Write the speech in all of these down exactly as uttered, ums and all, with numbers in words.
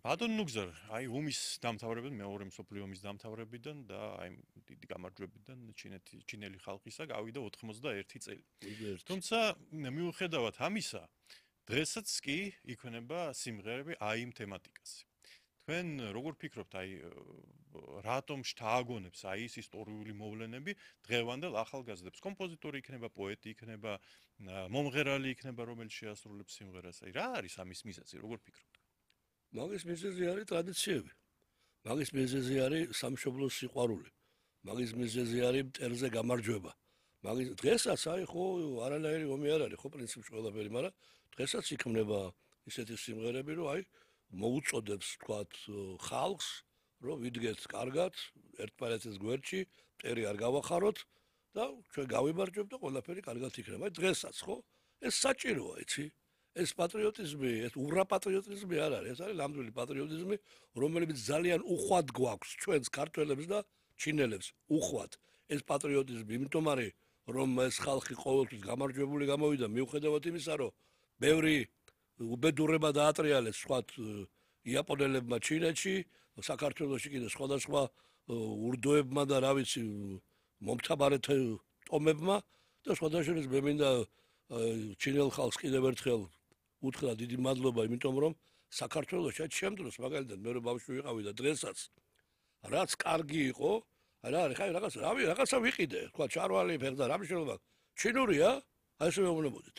ბატონ ნუგზარ, აი ომის დამთავრებიდან, მეორე მსოფლიო ომის დამთავრებიდან და აი დიდი გამარჯვებიდან ჩინეთი ჩინელი ხალხისა გავიდა ოთხმოცდაერთი წელი. თუმცა მიუხედავად ამისა, დღესაც კი იქნება სიმღერები აი იმ თემატიკაზე. თქვენ როგორ ფიქრობთ, აი რატომ შთააგონებს აი ეს ისტორიული მოვლენები დღევანდელ ახალგაზრდებს? კომპოზიტორი იქნება, პოეტი იქნება, მომღერალი იქნება, რომელიც შეასრულებს სიმღერას. აი რა არის ამის მიზეზი, როგორ ფიქრობთ? მაგის მიზეზი არის ტრადიციები. მაგის მიზეზი არის სამშობლოს სიყვარული. მაგის მიზეზი არის მტერზე გამარჯვება. მაგის დღესაც აი ხო არანაირი ომი არ არის, ხო პრინციპში ყველაფერი, მაგრამ დღესაც იქმნება ისეთი სიმღერები, რომ აი მოუწოდებს თქვათ ხალხს, რომ ვიდგეთ კარგად, ერთმანეთის გვერდში, მტერი არ გავახაროთ და ჩვენ გავიმარჯვებთ და ყველაფერი კარგად იქნება. აი დღესაც ხო? ეს საჭიროა, იცი? ეს პატრიოტიზმი, ეს ურაპატრიოტიზმი არ არის, ეს არის ნამდვილი პატრიოტიზმი, რომელიც ძალიან უხვად გვაქვს ჩვენს ქართველებს და ჩინელებს, უხვად. ეს პატრიოტიზმი იმიტომ არის, რომ ეს ხალხი ყოველთვის გამარჯვებული გამოვიდა, მიუხედავად იმისა, რომ ბევრი უბედურება დაატრიალეს სხვათ იაპონელებმა ჩინეთში, საქართველოში კიდე სხვადასხვა ურდოებმა და რა ვიცი, მომთაბარეთ ტომებმა და სხვადასხვა მე მინდა ჩინელ ხალხს კიდევ ერთხელ უთხრა დიდი მადლობა, იმიტომ რომ საქართველოში აი ჩემ დროს მაგალითად მე რო ბავშვი ვიყავი და დღესაც რაც კარგი იყო, რა არის, ხაი რაღაც რავი, რაღაცა ვიყიდე, თქვა ჩარვალი ფერდა, რა მნიშვნელობა? ჩინურია? აი ესე მეუბნებოდით.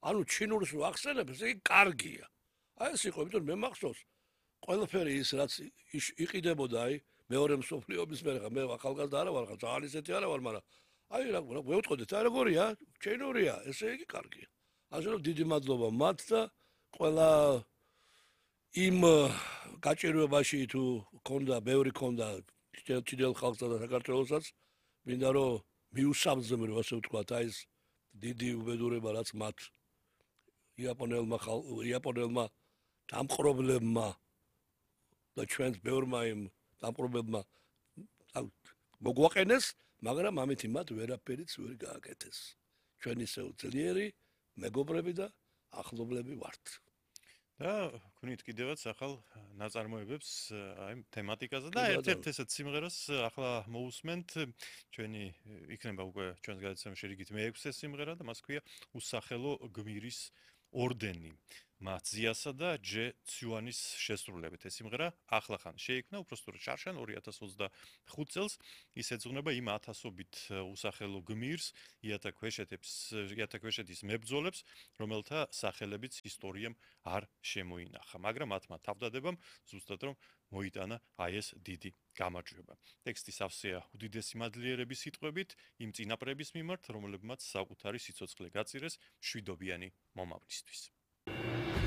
ანუ ჩინურს რო ახსენებ, ეს იგი კარგია. აი ეს იყო, იმიტომ მე მახსოვს ყველაფერი ის რაც იყიდებოდა აი მეორე მსოფლიო ომის მერე, მე ახალგაზრდა არა ვარ, ძალიან ისეთი არა ვარ, მაგრამ აი რა ვეუწყოდეთ, აი როგორია? ჩინურია, ესე იგი კარგია. ასე რომ დიდი მადლობა მათ და ყველა იმ გაჭირვებაში თუ ქონდა, ბევრი ქონდა ჩინელ ხალხსა და საქართველოსაც, მინდა რომ მიუსამძმრო, ასე ვთქვათ, აი ეს დიდი უბედურება, რაც მათ იაპონელმა იაპონელმა დამპყრობლებმა და ჩვენს ბევრმა იმ დამპყრობლებმა მოგვაყენეს, მაგრამ ამით მათ ვერაფერიც ვერ გააკეთეს. ჩვენ ისევ ძლიერი მეგობრები და ახლობლები ვართ. და გქონით კიდევაც ახალ ნაწარმოებებს აი თემატიკაზე და ერთ-ერთ ესეთ სიმღერას ახლა მოусმენთ ჩვენი იქნება უკვე ჩვენს გადაცემაში რიგით მეექვსე სიმღერა და მას ქვია უსახელო გმირის ორდენი. მათზიასა და ჯე ციუანის შესრულებით ეს სიმღერა ახლახან შეიქმნა უბრალოდ შარშან ორი ათას ოცდახუთ წელს ის ეძღვნება იმ ათასობით უსახელო გმირს იათაქვეშეთის იათაქვეშეთის მებრძოლებს რომელთა სახელებიც ისტორიამ არ შემოინახა მაგრამ მათმა თავდადებამ ზუსტად რომ მოიტანა აი ეს დიდი გამარჯვება ტექსტი სავსეა უდიდესი მადლიერების სიტყვებით იმ წინაპრების მიმართ რომლებმაც საკუთარი სიცოცხლე გაწირეს მშვიდობიანი მომავლისთვის